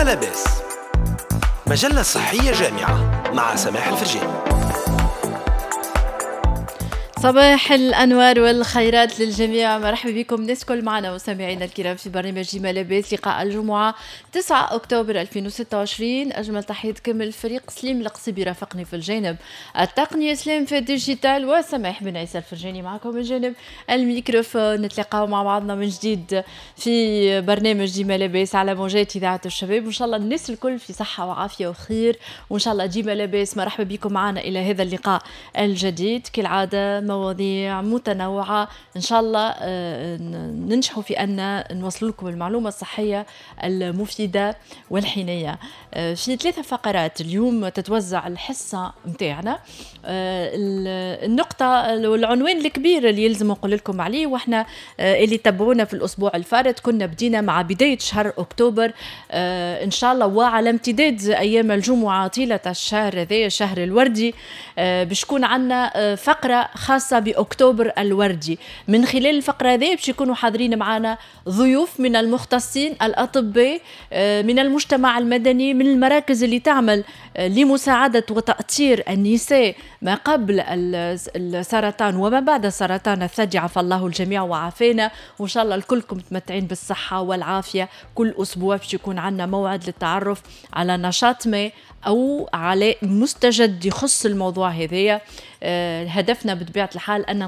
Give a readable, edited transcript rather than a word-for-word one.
ديما لاباس، مجلة صحية جامعة مع سماح الفرجاني. صباح الأنوار والخيرات للجميع، مرحبا بكم الناس كل معنا مستمعينا الكرام في برنامج ديما لاباس، لقاء الجمعة 9 أكتوبر 2026. أجمل تحية كامل الفريق، سليم القصيبي رافقني في الجانب التقني، سليم في ال digital، وسماح بن عيسى الفرجاني معكم من جانب الميكروفون. نتلاقاو مع بعضنا من جديد في برنامج ديما لاباس على موجات إذاعة الشباب، وإن شاء الله الناس الكل في صحة وعافية وخير، وإن شاء الله ديما لاباس. مرحبا بكم معنا إلى هذا اللقاء الجديد، كالعادة مواضيع متنوعة، إن شاء الله ننجحوا في أن نوصل لكم المعلومة الصحية المفيدة والحينية. في 3 فقرات اليوم تتوزع الحصة متاعنا. النقطة والعنوان الكبير اللي يلزم نقول لكم عليه، واحنا اللي تبعونا في الأسبوع الفارط كنا بدينا مع بداية شهر أكتوبر إن شاء الله وعلى امتداد أيام الجمعة طيلة الشهر هذا الشهر الوردي، باش يكون عندنا فقرة خاصة بأكتوبر الوردي. من خلال الفقرة هذه باش يكونوا حاضرين معنا ضيوف من المختصين الأطباء، من المجتمع المدني، من المراكز اللي تعمل لمساعدة وتأطير النساء ما قبل السرطان وما بعد السرطان الثدي، عفى الله الجميع وعافانا، وإن شاء الله الكلكم متمتعين بالصحة والعافية. كل أسبوع باش يكون عندنا موعد للتعرف على نشاط ما أو على مستجد يخص الموضوع هذايا. هدفنا بطبيعة الحال أن